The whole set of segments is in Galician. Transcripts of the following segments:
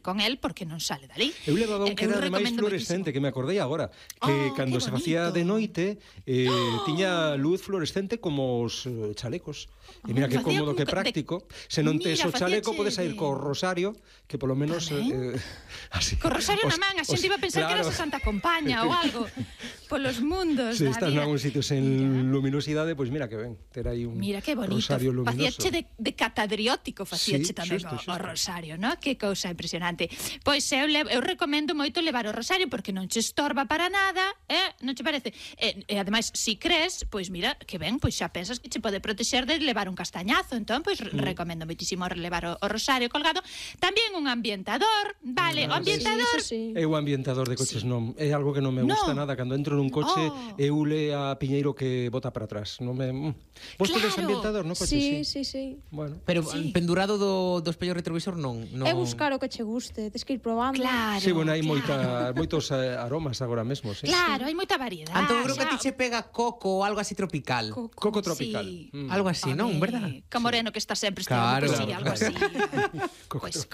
con el porque non sale dali. Eu levaba un que era ademais fluorescente, que me acordei agora, que cando se facía de noite tiña luz fluorescente como os chalecos. E mira que cómodo, que práctico. Se non tes o chaleco, podes ir co rosario, que polo menos co rosario na man, a xente iba a pensar que era a Santa Compaña ou algo polos mundos. Se estás nalgún sitio sen luminosidade, pois mira que ben, ter aí un rosario luminoso. Facíache de catadriótico, facíache tamén o rosario, non? Que cousa impresionante. Pois eu recomendo moito levar o rosario porque non che estorba para nada, non che parece? E ademais, si crees, pois mira, que ben, pois xa pensas que che pode protexer de levar un castañazo, entón pois recomendo moitísimo levar o rosario colgado. Tamén un ambientador, vale, o ambientador. Eu o ambientador de coches non, é algo que non me gusta nada. Cando entro nun coche, eu le a Piñeiro que bota para atrás. Non me... Vos tedes ambientador no coche? Sí. Bueno. Pero pendurado do espello retrovisor non. É buscar o que che guste, tens que ir probando. Claro. Sí, bueno, hai moitos aromas agora mesmo, sí. Claro, hai moita variedade. Entón, creo que a ti che pega coco ou algo así tropical. Coco tropical. Algo así, non, verdad? Que Moreno que está sempre Claro. algo así. Pois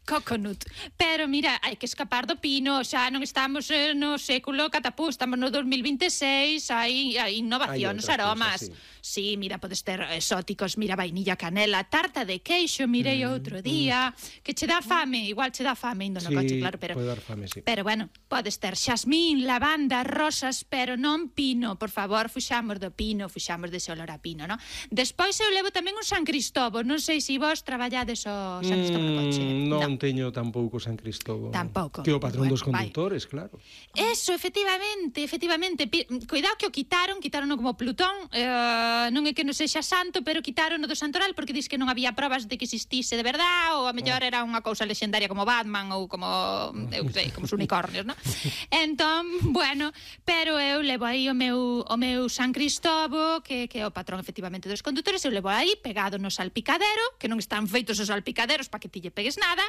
coconut. Pero mira, hai que escapar do pino, xa non estamos no século catapú, estamos no 2026, hai innovacións, aromas. Sí, mira, podes ter exóticos, mira, vainilla, canela, tarta de queixo, mirei outro día, que che dá fame, igual che dá fame indo no coche, claro, pero pode dar fame, sí. Pero bueno, podes ter xasmín, lavanda, rosas, pero non pino, por favor, fuxamos do pino, fuxamos dese olor a pino, non? Despois eu levo tamén un San Cristóbal, non sei se vos traballades o San Cristóbal no coche. Non teño tampouco San Cristóbal. Tampouco. Que o patrón dos conductores, claro. Eso, efectivamente. Cuidado que o quitaron como Plutón, non é que non sexa santo, pero quitaron o do Santoral porque dis que non había probas de que existise de verdade, ou a mellor era unha cousa lexendaria como Batman ou como, eu sei, como os unicornios, non? Entón, bueno, pero eu levo aí o meu San Cristóbal, que é o patrón efectivamente dos condutores, eu levo aí pegado no salpicadero, que non están feitos os salpicaderos para que ti lle pegues nada,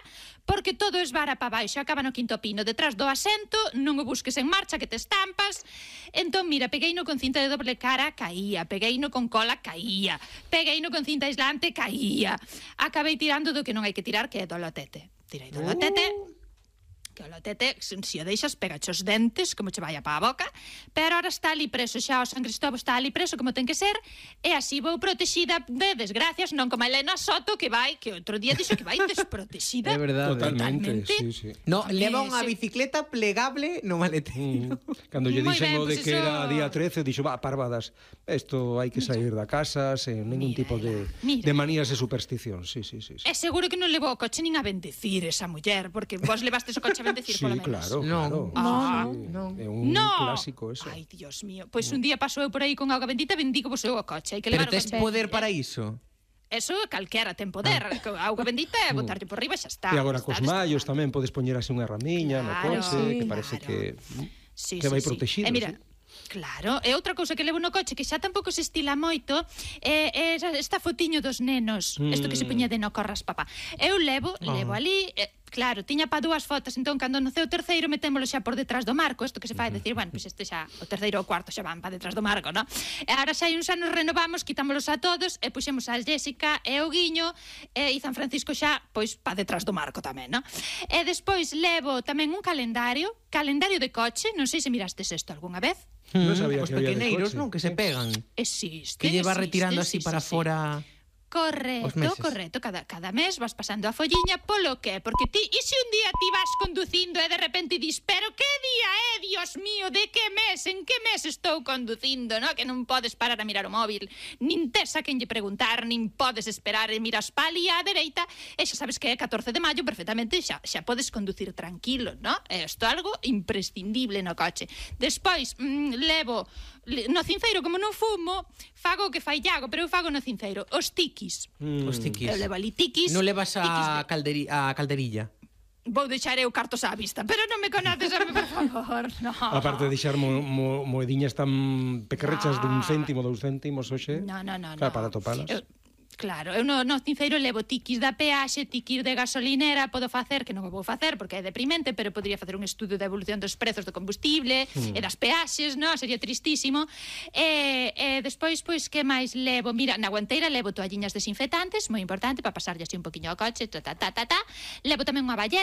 porque todo esvara para baixo, acaba no quinto pino, detrás do asento, non o busques en marcha que te estampas. Entón, mira, pegueino con cinta de doble cara, caía, pegueino con cola, caía, pegueino con cinta aislante, caía. Acabei tirando do que non hai que tirar, que é do lotete. Tirei do lotete, que o lotete, se o deixas, pegache os dentes, como che vai a pa a boca, pero ahora está ali preso, xa o San Cristóbal está ali preso como ten que ser, e así vou protexida de desgracias, non como a Elena Soto, que outro día dixo que vai desprotexida. É verdade. Totalmente, sí. No, leva unha bicicleta plegable no maleteiro. Cando lle dixen o de que era día 13, dixo, parvadas, isto hai que sair da casa sen ningún tipo de manías e superstición. Sí. É seguro que non levou o coche nin a bendecir esa muller, porque vos levastes o coche a bendecir, sí, polo menos. Claro. É un clásico eso. Ai, Dios mío. Pois un día pasou eu por aí con auga bendita, bendigo vos eu o coche. Pero tes poder para iso? Eso calquera ten poder. Auga bendita é botarlle por riba e xa está. E agora cos mallos tamén podes poñer así unha ramiña no coche, que parece que vai protegido. Mira, claro, e outra cousa que levo no coche que xa tampouco se estila moito é esta fotiño dos nenos, isto que se poñía de no corras papá. Eu levo ali, claro, tiña pa dúas fotos, entón cando noceu o terceiro metémolo xa por detrás do marco, isto que se fai decir, bueno, pois este xa, o terceiro ou o cuarto xa van pa detrás do marco, non? E agora xa hai uns anos renovamos, quitámolos a todos e puxemos a Jéssica e o Guiño e San Francisco xa, pois, pa detrás do marco tamén, non? E despois levo tamén un calendario de coche, non sei se mirastes isto algunha vez. Non sabía os que había de pequeneiros, coche. non? Que se pegan. Existe. Que lle va retirando así para fora... Correcto, cada mes vas pasando a folliña, polo que? Porque ti, e se un día ti vas conducindo e de repente dis, pero que día é, Dios mío, de que mes, en que mes estou conducindo, no? Que non podes parar a mirar o móvil, nin tes a quen lle preguntar, nin podes esperar e miras pa ali á dereita, e xa sabes que é 14 de maio, perfectamente xa podes conducir tranquilo, no? É isto algo imprescindible no coche. Despois, levo no cinceiro, como non fumo, fago o que fai Iago, pero eu fago no cinceiro os tiquis. Os tiquis. Eu levo ali tiquis. Non levas a calderilla? Vou deixar eu cartos á vista, pero non me conoces a mí, por favor, no. Aparte de deixar moediñas tan pequerrechas dun céntimo, 2 céntimos, hoxe. No. Para topalas. Claro, eu no cinceiro levo tiquis da peaxe, tiquis de gasolinera, podo facer, que non o vou facer porque é deprimente, pero podría facer un estudo da evolución dos prezos do combustible e das peaxes, non? Sería tristísimo. E despois, pois, que máis levo? Mira, na guanteira levo toalliñas desinfectantes, moi importante, para pasarlle así un poquinho ao coche, Levo tamén unha balleta,